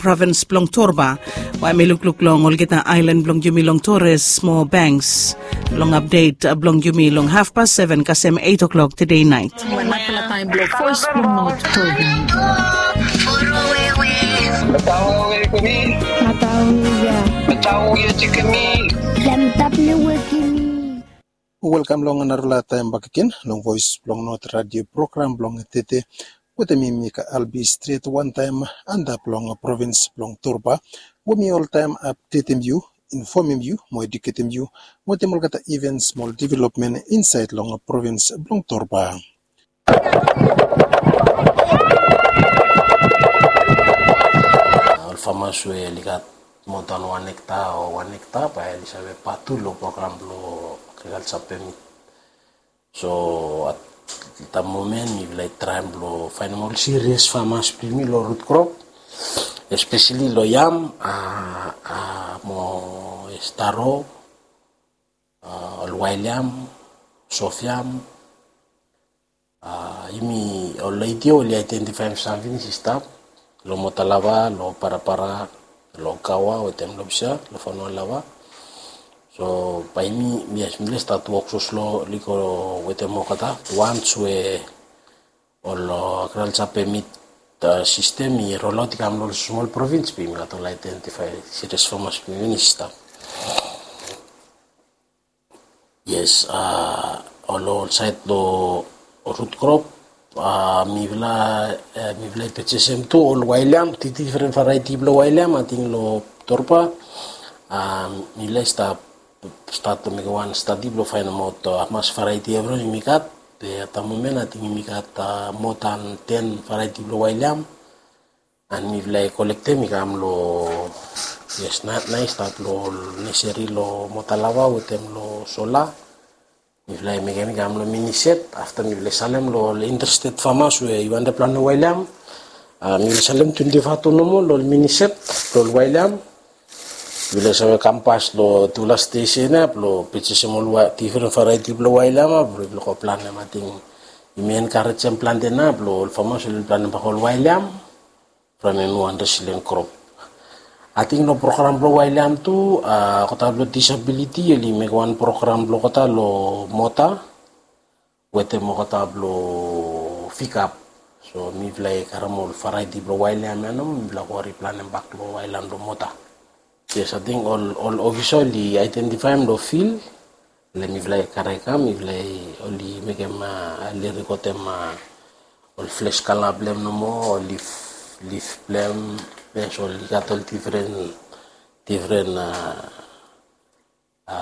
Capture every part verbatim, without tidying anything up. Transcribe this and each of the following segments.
provins blong Torba, we hemi lukluk long olgeta aelan blong yumi long Torres mo Banks. Long apdet blong yumi long hafpas seven kasem eit o'klok tede naet. Wan narafala taem blong Voes blong Not program. Matau ia. Matau ia tikemi. Lamtap ne wekimi. Welkam long narafala taem bakegen long Voes blong Not radio program blong tede. Wetem mi Mika Albi stret wantaem antap long provins blong Torba, we mi oltaem apdetem yu, infomem yu mo eduketem yu wetem olgeta ivens mo ol developmen insaed long provins blong Torba. Ol famas we oli gat moa dan wan ekta o wan ekta bae oli save pat tu long program blong agrikalsa pemit. So at da momen mifala i traem blong faenem ol sirias famas blong yumi long rut krop, espeseli long yam, a, a, mo, yes, taro, a, ol wael yam, sof yam, a, yumi ol ledi oli aedentifaem samting i stap long Motalava, long Parapara, long Kawa wetem Lobsia, long Fanua Lava. So bae yumi, yes, mifala i stat wok soslo i go wetem olgeta, wans we ol, a, agrikalsa pemit, a, sistem i rolaot i kam long ol smol provins, bae yumi gat ol aedentifae sirias famas blong yumi i stap. Yes, a, ol, ol saed long rut krop, a, mifala, e, mifala i pejesem tu ol wael yam, di-, difren varieti blong wael yam, ating long Torba, a, mifala i stap, stat long mekem wan stadi blong faenemaot, a, hamas varieti evriwan yumi gat, be at da momen ating yumi gat, a, moa dan ten varieti blong wael yam. An mifala i kolektem i kam long, yes, nao, nao i stat long neseri long Motalava wetem long Sola. Mifala i mekem i kam long minised, afta mifala i salem long ol interested famas we i wantem planem wael yam. A, mifala i salem twenti faev tu nomo long ol minised blong ol wael yam. Mifala i save kam pas long tufala stesen ia blong pejesem ol wa-, difren varieti blong wael yam ia blong mifala go planem. Ating yumi enkarejem plante nao blong ol famas oli planem bak ol wael yam from hemi wan resilient krop. Ating long program blong wael yam tu, a, olgeta blong disabiliti oli mekem wan program blong olgeta long Mota wetem olgeta blong Fikap. So mifala i karem ol varieti blong wael yam ia nomo, mifala go riplanem bak long wael yam long Mota. Yes, ating ol, ol ofisa oli aedentifaem long fil, le mifala i karem i kam, mifala i oli mekem, a, oli rikotem, a, ol fles kala blong hem nomo, ol lif, lif blong hem, yes, oli gat ol difren, difren, a, a,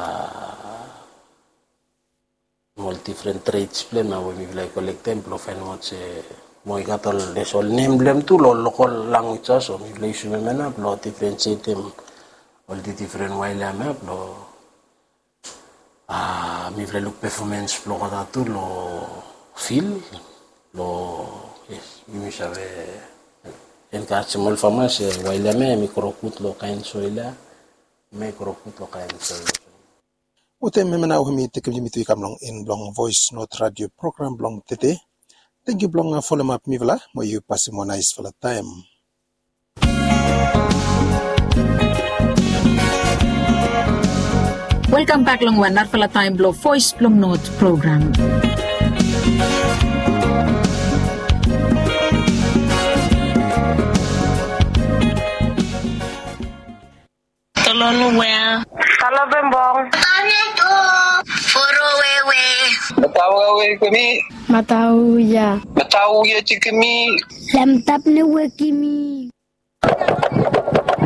ol difren trets blong hem ia we mifala i kolektem blong faenemaot se mo i gat ol, yes, ol nem blong hem tu long lokol language ia, so mifala i yusum hemia nao blong difrensietem ol di-, difren wael yam ia blong A, mifala i luk pefomens blong olgeta tu long fil, long, yes, yumi save enkarejem ol famas se wael ia hemia hemi gro gud long kaen soel ia, hemi gro gud long kaen soel. Wetem hemia nao hemi tekem yumi tu i kam long en blong Voes Not Radio program blong tede. Tangkiu blong folem ap mifala, mo yu pasem wan naesfala taem. Welkam bek long wan narafala taem blong Voes blong Not program. Tolonu wea. Talo bembong. Tane tu. Foro wewe. Matau wewe kemi. Matau ya. Matau ya cikemi. Lamtap ne wekimi.